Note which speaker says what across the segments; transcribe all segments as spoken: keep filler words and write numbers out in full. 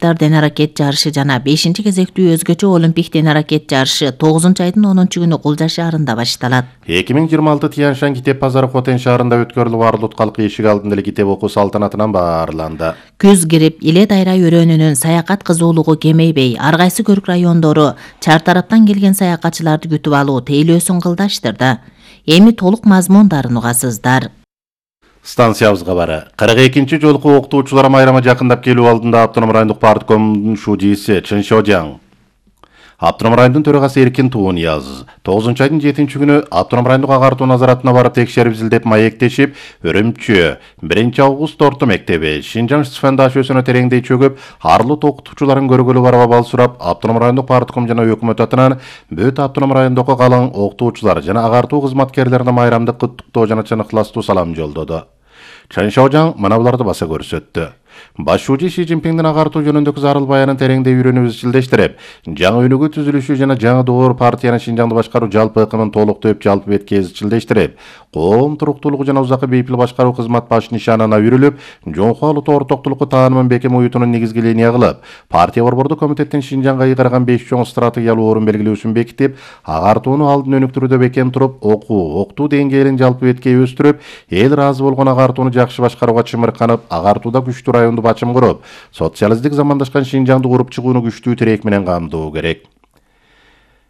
Speaker 1: дене-аракет жарышы жана бешинчи кезектүү өзгөчө олимпик дене-аракет жарышы тогузунчу айдын онунчу күнү Кулжа шаарында башталат.
Speaker 2: эки миң жыйырма алты Тянь-Шань китеп базары Хотен шаарында өткөрүлүп, Арлут калкы эшик алдында эле китеп окуу салтанатынан баарланды.
Speaker 1: Күз кирип, Иле Дайра өрөөнүнүн саякат кызуулугу кемейбей, ар кайсы көрк райондору чар тараптан келген саякатчыларды күтүп алуу тейлөөсүн кылдаштырды. Эми толук мазмундарын угасыздар.
Speaker 2: Станциябызга бары. кырк экинчи жолку окутуучулар майрамы жакындап келүү алдында Автоном райондук парткомдун шудийси Чын Шожаң, Автоном райондун төрагасы Эркин Туунияз тогузунчу айдын жетинчи күнү Автоном райондук агартуу назаратына барып текшерип изилдеп маектешип, Өрөмчү биринчи август орто мектеби Шинжаң Сфен дашөсүнө тереңдей чөгүп, Арлут окутуучуларын көргөлү барып абал сурап, Автоном райондук партком жана өкмөт атынан бүт Автоном райондук калың окутуучулар жана агартуу кызматкерлерине майрамдык куттуктоо жана чыныктыластуу салам жолдоду. Чын Шожаң мына буларды баса көрсөттү. Башчы Ши Цзиньпиңдин агартуу жөнүндөгү зарыл баянын тереңдей үйрөнүп изилдештирип, жаңы өнүгүү түзүлүшү жана жаңы доор партиянын Шинжаңды башкаруу жалпы ыкымын толуктоп, жалпы бетке изилдештирип, коом туруктуулугу жана узакы бейпил башкаруу кызмат баш нишанына үйрүлүп, жоңку алуу ортоктулукку таанымын бекем уютунун негизги линия кылып, партия борбордук комитеттин Шинжаңга ыйгарган беш чоң стратегиялуу орун белгилөөсүн бекитип, агартууну алдын өнүктүрүүдө бекем туруп, окуу, октуу деңгээлин жалпы бетке өстүрүп, эл ыраазы болгон агартууну жакшы башкарууга чымырканып, агартууда күчтүү районду бачым куруп, социалисттик замандашкан Шинжаңды куруп чыгууну күчтүү тирек менен камдоо керек.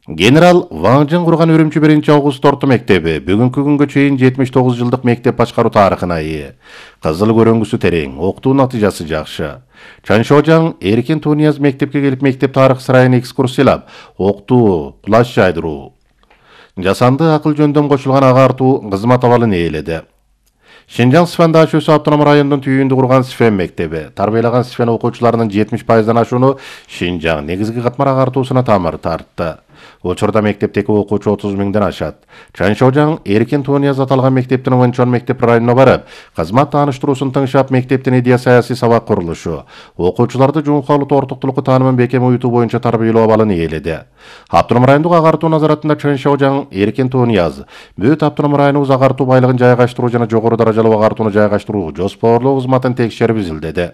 Speaker 2: Генерал Ван Жын курган Өрөмчү биринчи август орто мектеби бүгүнкү күнгө чейин жетимиш тогуз жылдык мектеп башкаруу тарыхына ээ. Кызыл көрөңгүсү терең, окутуу натыйжасы жакшы. Чын Шожаң Эркин Туунияз мектепке келип мектеп тарых сарайын экскурсиялап, окутуу, плащ жайдыруу, жасанды акыл жөндөм кошулган агартуу кызмат абалын ээледи. Шинжаң Сфен дашөсү Автоном районунун түйүндү курган Сфен мектеби тарбиялаган Сфен окуучуларынын жетимиш пайыздан ашууну Шинжаң негизги катмар агартуусуна тамыр тартты. Учурда мектептеги окуучу отуз миңден ашат. Чын Шожаң Эркин Туунияз аталган мектептин Ванчон мектеп районуна барып, кызмат тааныштыруусун тыңшап, мектептин идея саясий сабак курулушу, окуучуларды жоңку алуу ортоктулукку таанымын бекем уютуу боюнча тарбиялоо абалын ээледи. Автоном райондук агартуу назаратында Чын Шожаң Эркин Туунияз бүт Автоном районубуз агартуу байлыгын жайгаштыруу жана жогору даражалуу агартууну жайгаштыруу жоспорлоо кызматын текшерип изилдеди.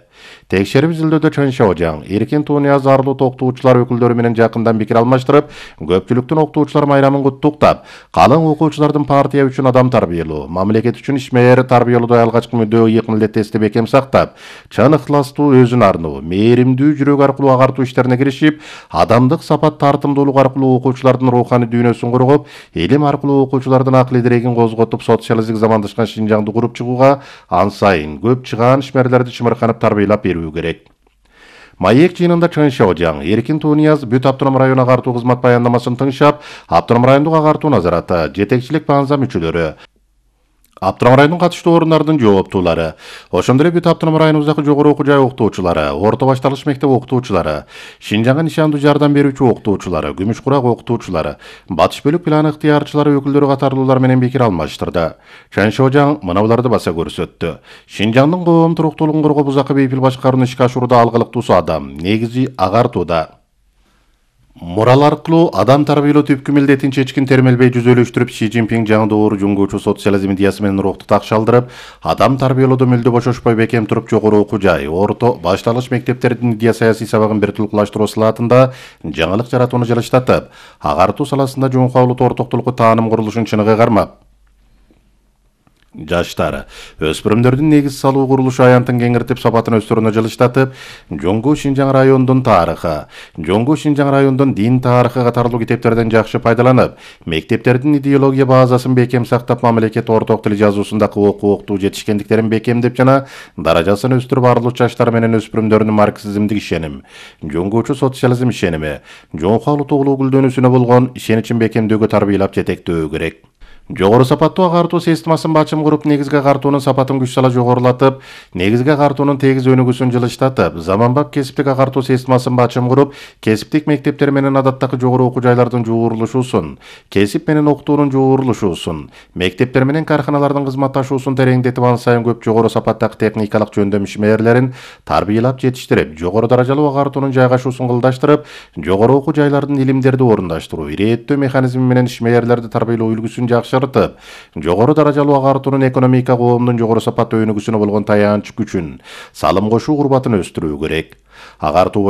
Speaker 2: Текшерип изилдөөдө Чын Шожаң Эркин Туунияз Арлут окутуучулар өкүлдөрү менен жакындан пикир алмаштырып, көпчүлүктүн окутуучулар майрамын куттуктап, калың окуучулардын партия үчүн адам тарбиялоо, мамлекет үчүн ишмер тарбиялоодо алгачкы мүдөө ыйык милдеттестикти бекем сактап, чын ыктыластуу, өзүн арноо, мээримдүү жүрөк аркылуу агартуу иштерине киришип, адамдык сапат тартымдуулук аркылуу окуучулардын руханий дүйнөсүн кургуп, илим аркылуу окуучулардын акыл идирегин козготуп, социалисттик замандашкан Шинжаңды куруп чыгууга ан сайын көп чыгаан ишмерлерди чымырканып тарбиялап берүү керек. Маек жыйынында Чын Шожаң Эркин Туунияз бүт Автоном район агартуу кызмат баяндамасын тыңшап, Автоном райондук агартуу назараты, жетекчилик баанза мүчөлөрү, Автоном районунун катыштуу орундарынын жооптуулары, ошондой эле бүт Автоном районубуздагы жогору окуу жай окутуучулары, орто башталгыч мектеп окутуучулары, Шинжаңга нишандуу жардам берүүчү окутуучулары, Күмүш Курак окутуучулары, Батыш бөлүк план ыктыярчылары өкүлдөрү катарлуулар менен пикир алмаштырды. Чын Шожаң мына буларды баса көрсөттү. Шинжаңдын коом туруктуулугун коргоп, узакы бейпил башкарууну ишке ашырууда алгылыктуусу адам, негизи агартууда. Мурал аркылуу адам тарбиялоо түпкү милдетин чечкин термелбей жүзөлөштүрүп, Ши Цзиньпиң жаңы доор жуңгуучу социализм идеясы менен рухту такшалдырып, адам тарбиялоодо мүлдө бошошпой бекем туруп, жогору окуу жай, орто, башталгыч мектептердин идея саясий сабагын бир тулкулаштыруу салаатында жаңылык жаратууну жалыштатып, агартуу саласында жоңку алуу ортоктулукку тааным курулушун чыныгы кармап, жаштар, өспүрүмдөрдүн негиз салуу курулушу аянтын кеңиртип, сапатын өстөрүнө жылыштатып, Жоңгу Шинжаң районунун тарыхы, Жоңгу Шинжаң районунун дин тарыхы катарлуу китептерден жакшы пайдаланып, мектептердин идеология базасын бекем сактап, мамлекет орток тил жазуусундагы окуу октуу жетишкендиктерин бекемдеп жана даражасын өстүрүп, арлуу жаштар менен өспүрүмдөрдүн марксизмдик ишеним, жоңгучу социализм ишеними, жоңку алуу толуу гүлдөнүүсүнө болгон ишеничин бекемдөөгө тарбиялап жетектөө керек. Жогору сапаттуу агартуу системасын бачым куруп, негизги агартуунун сапатын күч сала жогорулатып, негизги агартуунун тегиз өнүгүүсүн жылыштатып, заманбап кесиптик агартуу системасын бачым куруп, кесиптик мектептер менен адаттагы жогору окуу жайлардын жуурулушуусун, кесип менен окутуунун жуурулушуусун, мектептер менен карканалардын кызматташуусун тереңдетип, ан сайын көп жогору сапаттагы техникалык жөндөм ишмерлерин тарбиялап жетиштирип, жогору даражалуу агартуунун жайгашуусун кылдаштырып, жогору окуу жайлардын илимдерди орундаштыруу, ирээттөө механизми менен ишмерлерди тарбиялоо үлгүсүн жакшы жакшыртып, жогору даражалуу агартуунун экономика коомдун жогору сапаттуу өнүгүүсүнө болгон таянч күчүн, салым кошуу курбатын өстүрүү керек. Агартуу